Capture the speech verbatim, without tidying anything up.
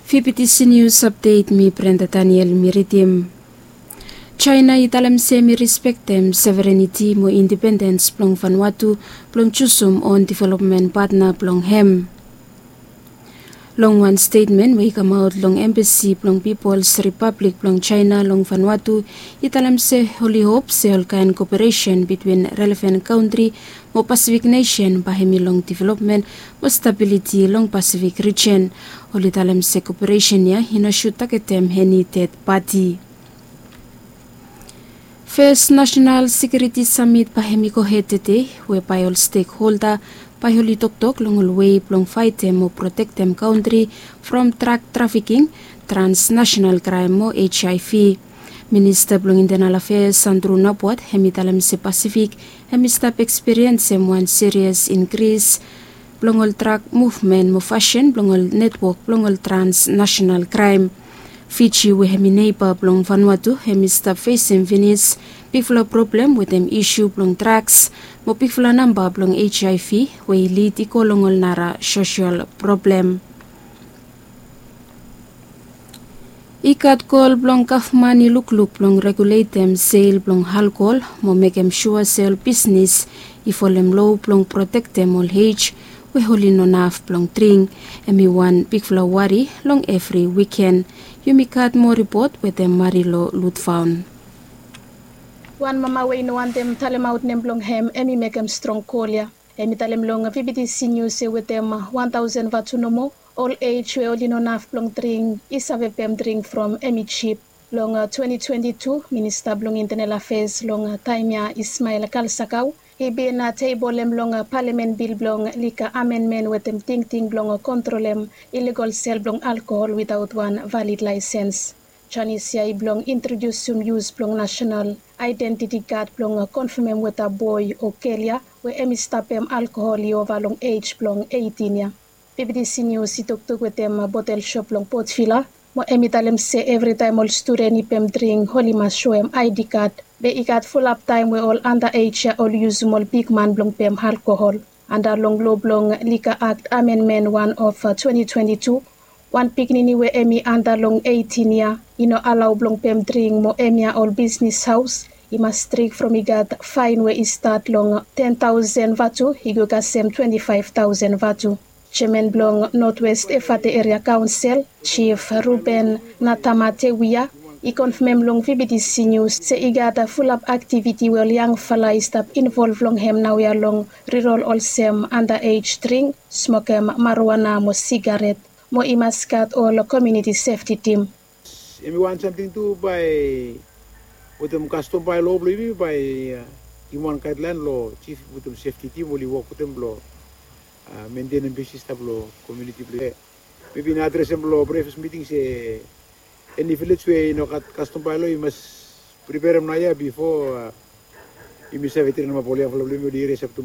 Fifty News Update, mi Brenda Daniel mi ridim. China i talem se mi rispektem severeniti mo independens blong Vanuatu blong jusum on developmen patna blong hem. Long wan stetmen we i kamaot long embasi blong Pipls Ripablik blong China long Vanuatu, i talem se oli hop se olkaen koperesen bitwin relevan kantri mo Pasifik nesen bae hemi long developmen mo stabiliti long Pasifik rijen. Oli talem se koperesen ya i no sud tagetem eni ded pati. Fes Nasenal Sekiuriti Samit bae hemi gohed tede, we bae ol stekholda bae oli toktok long ol wei blong faetem mo protektem kantri from drak trafiking, transnasenal kraem mo HIV. Minista blong Intenal Afeas Andrew Nabwat hemi talem se Pasifik hemi stap ekspiriensem wan sirias inkris blong ol drak muvmen mo fasin blong ol netwok blong ol transnasenal kraem. Fiji we hemi neiba blong Vanuatu hemi stap fesem finis bigfala problem wetem isu blong draks mo bigfala namba blong HIV we i lid i go long ol nara sosel problem. I gat gol blong gavman i lukluk blong reguletem sel blong alkohol mo mekem sua se ol bisnis i folem loa blong protektem ol ej we oli no naf blong dring. Hemi wan bigfala wari long evri wiken. Yumi gat moa ripot wetem Marilo Lutfaun. Wan mama we i no wantem talemaot nem blong hem hemi mekem strong kol ya. Hemi talem long VBTC News se wetem wan taosen vatu nomo, ol ej we oli no naf blong dring i save pem dring from hemi jip. Long twenty twenty-two, Minista blong Intenal Afeas long taem ya, Ismail Kalsakau, i bin tebolem long palamen bil blong lika amenmen wetem tingting blong kontrolem iligol sel blong alkohol witaot wan valid laesens. Janis ya i blong introdiusum yus blong nasenal aedentiti kad blong konfamem weta boe o gel ya we hemi stapem alkohol i ova long ej blong eitin ya. VBTC News i toktok wetem botel sop blong Port Vila, mo hemi talem se evritaem ol studen i pem dring oli mas soem ID kad. Be i gat fulap taem we ol anda ej ya oli yusum ol bigman blong pem alkohol. Anda long loa blong Liquor Act Amendment wan of twenty twenty-two, wan pikinini we hemi anda long eitin ya i no alao blong pem dring, mo hemia ol bisnis haos i mas strik from i gat faen we i stat long ten taosen vatu i go kasem twenti faef taosen vatu. Jeaman blong Northwest Efate Eria Kaonsel, Jif Ruben Natamatewia, i konfamem long VBTC Nius se i gat fulap aktiviti we ol yangfala i stap involv long hem naoia long rirol olsem anda ej dring, smokem marijuana mo sigaret, mo i mas gat ol komuniti sefti tim. Hemi wan samting tu bae wetem kastom baelo blong yumi bae, a, givim wan gaedlaen long jif wetem sefti tim oli wok wetem blong, a, mentenem bisnis stap long komuniti blong yumi. Mebi na adresem long privas miting se eni vilej we i no gat kastom baelo i mas priperem naoia bifo, a, yumi save trenemap ol yangfala blong yumi oli resap tu